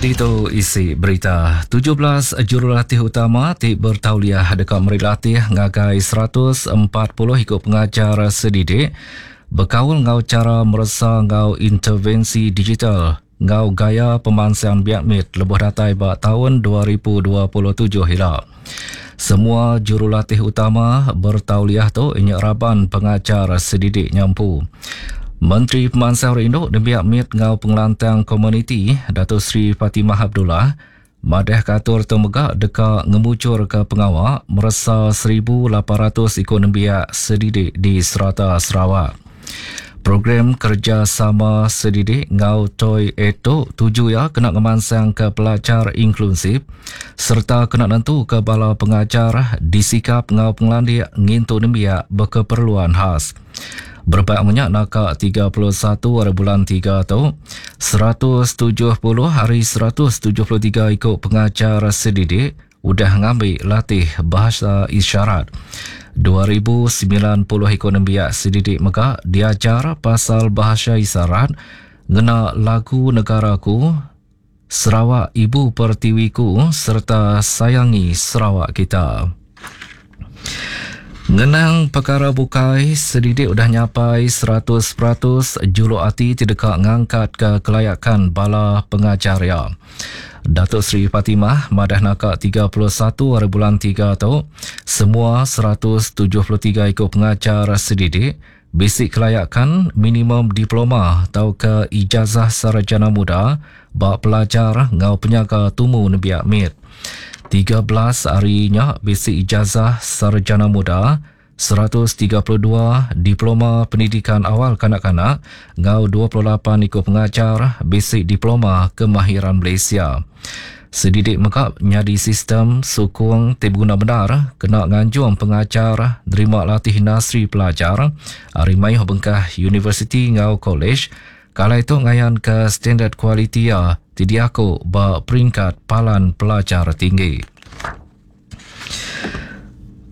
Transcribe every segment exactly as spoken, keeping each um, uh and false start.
Jadi tu isi berita. tujuh belas jurulatih utama ti bertauliah dekat meri latih ngagai seratus empat puluh ikut pengajar sedidik berkaul ngau cara meresa ngau intervensi digital ngau gaya pemansang biak mit lebuh datai ba tahun dua ribu dua puluh tujuh hila. Semua jurulatih utama bertauliah tu inyak raban pengajar sedidik nyampu. Menteri Pemansang Rindu Nembiak Mit ngau Pengelantang Komuniti Dato Sri Fatimah Abdullah madah katur tu mega deka ngemucur ke pengawa meresa seribu lapan ratus ikut nembiak sedidik di serata Sarawak. Program kerjasama sedidik ngau Toy Eto tuju ya kena ngemansang ke pelajar inklusif serta kena nentu ke bala pengajar disikap ngau pengelandik ngintu nembiak berkeperluan khas. Berbak menyak naka tiga puluh satu hari bulan tiga tu, seratus tujuh puluh hari seratus tujuh puluh tiga ikut pengajar sedidik udah ngambil latih bahasa isyarat. dua ribu sembilan puluh ikut nembiak sedidik mega diajar pasal bahasa isyarat ngena lagu negaraku, Sarawak Ibu Pertiwiku serta Sayangi Sarawak Kita. Ngenang perkara bukai, sedidik udah nyapai seratus peratus juluk hati tidak ngangkat ke kelayakan bala pengajar ya. Datuk Seri Fatimah madah naka tiga puluh satu hari bulan tiga tu, semua seratus tujuh puluh tiga ikut pengajar sedidik basic kelayakan minimum diploma atau ke ijazah sarjana muda bak pelajar ngau penyaga tumu nembiak mit. tiga belas harinya basic ijazah sarjana muda, seratus tiga puluh dua diploma pendidikan awal kanak-kanak, ngau dua puluh lapan ikut pengajar basic diploma kemahiran Malaysia. Sedidik mega nyadi sistem sukung ti guna benar kena nganjung pengajar nerima latih industri pelajar hari mayuh bengkah universiti ngau college kalau itu ngayan ke standard kualiti ya ti diaku ba peringkat palan pelajar tinggi.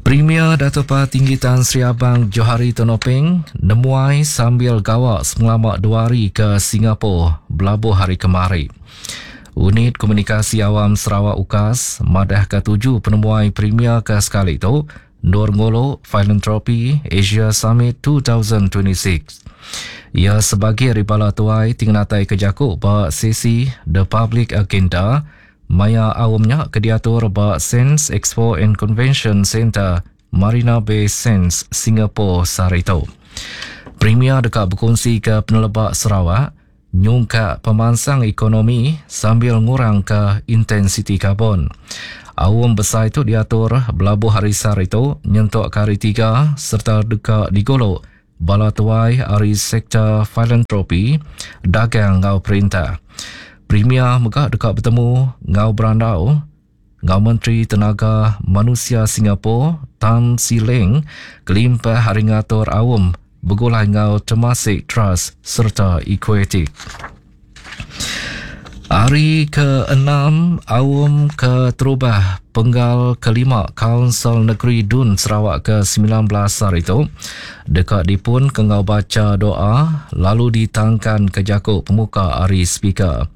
Premier Dato' Patinggi Tan Sri Abang Johari Tun Openg nemuai sambil gawak selama dua hari ke Singapura belabuh hari kemari. Unit Komunikasi Awam Sarawak U K A S madah ke tuju penemuai Premier ke sekali tu Nur Ngolo Philanthropy Asia Summit dua ribu dua puluh enam. Ia sebagai ribala tuai tingnatai kejaku ba sesi The Public Agenda maya awamnya kediatur ba Sands Expo and Convention Center Marina Bay Sands Singapore sarito. Premier dekat berkongsi ke penelebak Sarawak nyungkak pemansang ekonomi sambil ngurang ke intensiti karbon. Awam besar itu diatur belabuh hari sar itu nyentuk ke hari tiga serta dekat digolok bala tuai hari sektor filantropi dagang ngau perintah. Premier megak dekat bertemu ngau berandau ngau Menteri Tenaga Manusia Singapura Tan See Leng kelimpah hari ngatur awam bergulai ngau Temasek Trust serta Equatic. Hari keenam awam keterubah penggal kelima Kaunsil Negeri Dun Sarawak ke sembilan belas hari itu dekat dipun ke ngau baca doa lalu ditangkan ke jakuk pemuka hari speaker.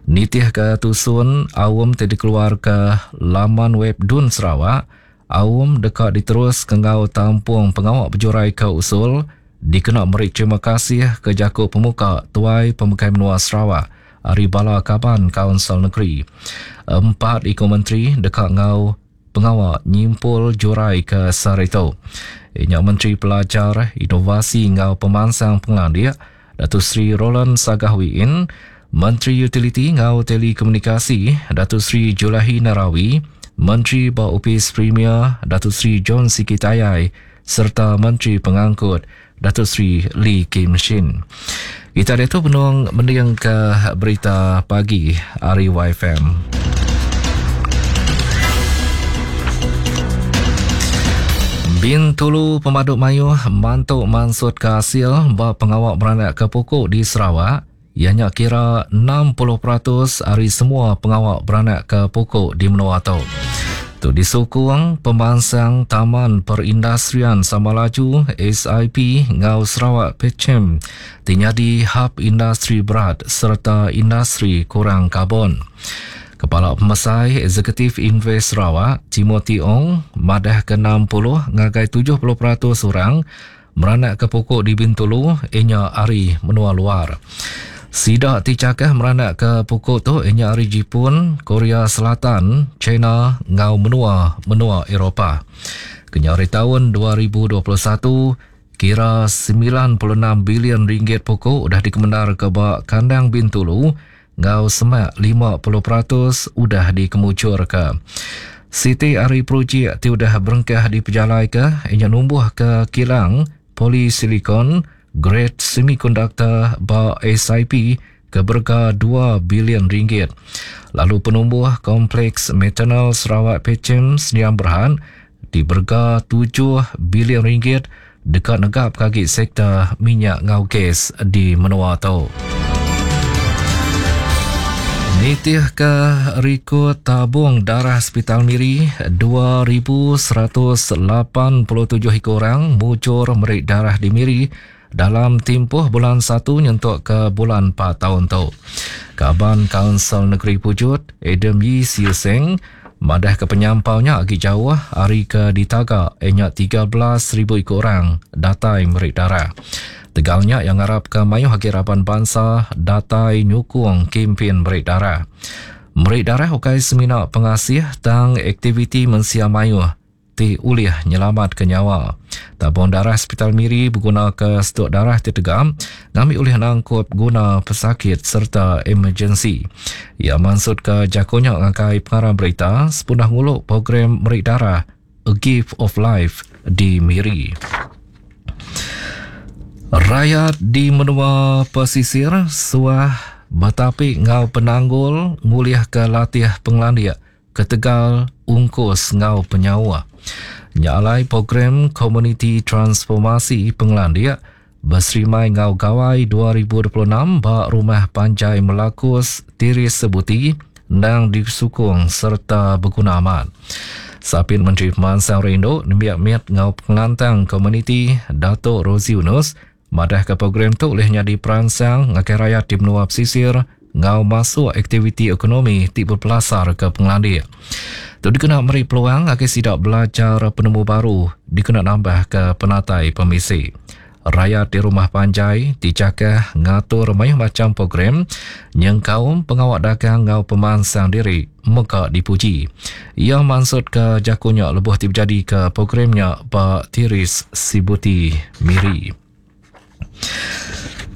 Nitih ke tusun awam tadi keluar ke laman web Dun Sarawak, awam dekat diterus ke ngau tampung pengawak berjurai ke usul dikena meri terima kasih ke jakuk pemuka Tuai Pemegai Menua Sarawak Ari Bala Kaban Kaunsil Negeri. Empat ikut menteri dekat ngau pengawak nyimpul jurai ke Sarito. Inyak Menteri Pelajar Inovasi ngau Pemansang Pengelandik Datuk Seri Roland Sagah Wee Inn, Menteri Utiliti ngau Telekomunikasi Datuk Seri Julaihi Narawi, Menteri Ba Upis Premier Datuk Seri John Sikie Tayai serta Menteri Pengangkut Datuk Seri Lee Kim Shin. Kita ada tu penuang mendiang ke berita pagi hari Y F M. Bintulu Pemaduk Mayuh mantuk mansut ke hasil ba pengawak beranak ke pokok di Sarawak. Ianya kira enam puluh peratus hari semua pengawak beranak ke pokok di Menua tu. Tu disukung pemansang Taman Perindustrian Samalaju S I P ngau Sarawak Petchem ti nyadi hub industri berat serta industri kurang karbon. Kepala Pemesai Eksekutif Invest Sarawak, Timothy Ong, madah ke enam puluh ngagai tujuh puluh peratus orang meranak ke pokok di Bintulu inya ari menua luar. Sidak ti cakah meranak ke pokok tu inya ari Jepun, Korea Selatan, China ngau menua menua Eropah. Kenyau ari tahun dua ribu dua puluh satu, kira sembilan puluh enam bilion ringgit pokok udah dikemendar ke ba kandang Bintulu ngau semak lima puluh peratus udah dikemucur ke. Siti ari projek ti udah berengkah dipejalai ke inya numbuh ke kilang polisilikon grade semiconductor ba S I P ke berega dua bilion ringgit. Lalu penumbuh kompleks metanol Sarawak Petchem Sdn Bhd di berega tujuh bilion ringgit dekat negap kaki sektor minyak ngau gas di menua tu. Nitih ke rekod tabung darah Hospital Miri, dua ribu seratus lapan puluh tujuh ekor orang mujur merik darah di Miri dalam tempoh bulan satu nyentuk ke bulan empat tahun tu. Kaban Kaunsil Negeri Pujut, Adam Yii Siew Seng, madah ke penyampaunya agi jauh hari ke ditaga ianya tiga belas ribu ekor orang datai merik darah. Tegalnya yang harap ke mayuh agi raban bangsa datai nyukung kempen merik darah. Merik darah ukai semina pengasih tang aktiviti mensia mayuh ti ulih nyelamat ke nyawa. Tabung darah Hospital Miri berguna ke stok darah ti tegam ngambil ulih nangkup guna pesakit serta emergensi. Ia maksud ke jakonya ngakai pengarang berita sepunah nguluk program merik darah A Gift of Life di Miri. Rakyat di menua pesisir suah betapi ngau penanggul ngulih ke latih penglandia ketegal ungkus ngau penyawa. Nyalai program Komuniti Transformasi Penglandia berserimai ngau gawai dua ribu dua puluh enam ba Rumah Panjai Melakus Tiris Sebuti nang disukung serta berguna amat. Sapin Menteri Pemansang Rindu nembiak miat ngau pengelantang komuniti Datuk Rosey Yunus madah ke program tu boleh nyadi perangsang ngagai rakyat di menua pesisir ngau masuk aktiviti ekonomi ti berpelasar ke pengelandik. Tu dikena meri peluang agar sidak belajar penemu baru dikena nambah ke penatai pemisi. Rakyat di Rumah Panjai dicakah ngatur mayuh macam program nyengkaum pengawak dagang ngau pemansang diri meka dipuji. Ia maksud ke jakunya lebuh ti berjadi ke programnya ba Tiris Sibuti Miri.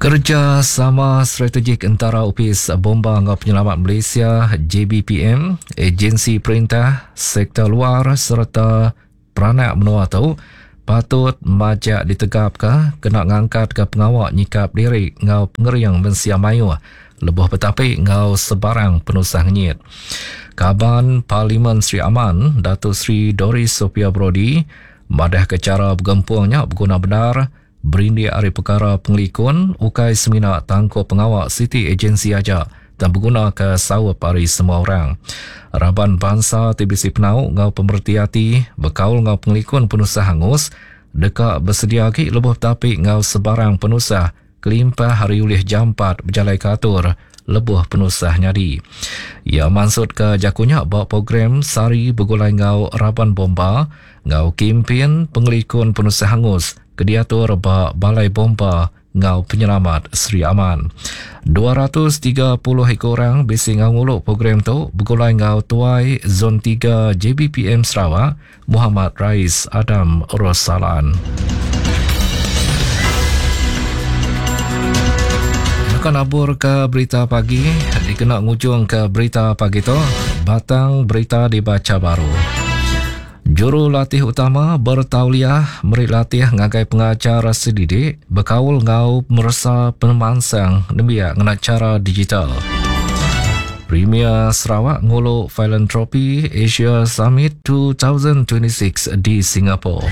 Kerjasama strategik antara Opis Bomba Ngau Penyelamat Malaysia J B P M, agensi perintah, sektor luar serta peranak menua tu patut majak ditegap ke kena ngangkat ke pengawak nyikap diri ngau pengeriang mensia mayuh lebuh betapi ngau sebarang penusah ngenyit. Kaban Parlimen Sri Aman Datuk Sri Doris Sophia Brodie madah ke cara bergempungnya berguna benar berindik ari perkara pengelikun ukai semina tangkup pengawak City Agency aja dan berguna ke sawap ari semua orang. Raban bangsa T B C Penau ngau pemerti hati berkaul ngau pengelikun penusah hangus deka bersedia agi lebuh tapi ngau sebarang penusah kelimpah hari ulih jampat berjalai katur lebuh penusah nyadi. Ia maksud ke jakunya bawa program Sari Begulai Ngau Raban Bomba ngau kempen pengelikun penusah hangus kediatur ba Balai Bomba ngau Penyelamat Sri Aman. dua ratus tiga puluh ekor orang bisi ngau nguluk program tu begulai ngau tuai Zon tiga J B P M Sarawak Muhammad Rais Adam Rosalan. Bukan abur ke berita pagi, dikena ngujung ke berita pagi tu, batang berita dibaca baru. Juru latih utama bertauliah meri latih ngagai pengajar sedidik berkaul ngau meresa pemansang nembiak ngena cara digital. Premier Sarawak ngulu Philanthropy Asia Summit dua ribu dua puluh enam di Singapura.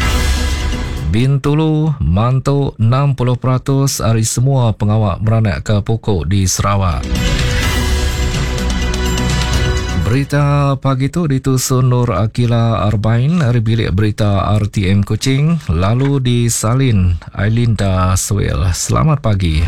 Bintulu mantu enam puluh peratus ari semua pengawak meranak ke pokok di Sarawak. Berita pagi tu ditusun Nur Akila Arbain ari bilik berita R T M Kuching lalu disalin Ailinda Suel. Selamat pagi.